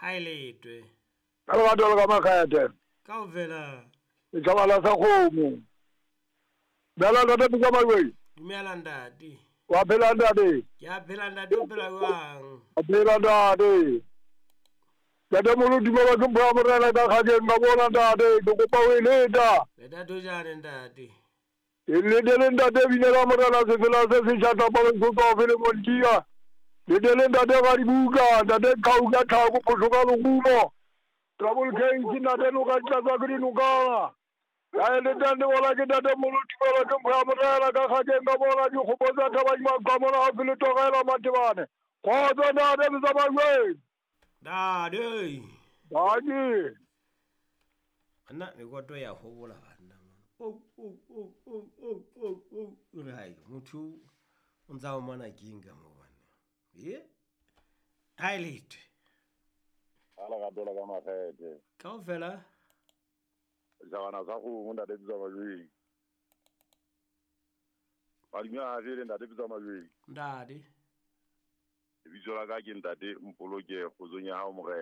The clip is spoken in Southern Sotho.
Ha e letwe. Ka lerato le ka makgethe. Kaofela. Setjhaba la sa kgomo. Dumela ntate Pitsa Majweng. Dumela ntate. Wa phela ntate? Ke a phela ntate, o phela jwang? A phela ntate. Ntate Molo dumela ke mpho ya morena ka kgakeng ka bona ntate, ke kopa ho e leta. Leta thojane ntate. E letele ntate binela morena sefela se setjha tlapaleng so tswa fele montia. Letele ntate ga dibuka, ntate qhau ka tlhako phoso ka lerumo. Trouble case ntate noka di tlatswa ke dinokana. Ka e letang le bona ke ntate Molo tumelo ke mpho ya morena ka kgakeng ka bona dikgopo tsa thabadimaqwa mona gaufi le Togela Matebane. Kgotso ntate Metsamajweng. Ntate. Ntate. Nna mekoto ya hobola banna mona. Oh oh oh oh oh oh oh. O re hai motho o ntsa o mana keng ka mo banna. Ye. Ha e letwe. A lerato la ka makgethe. Kaofela. Jagana sa kgomo ntate Pitsa Majweng. Madume a fele ntate Pitsa Majweng. Ntate. Lebitso la ka ke ntate Mpoloke kgotsong ya hao morena.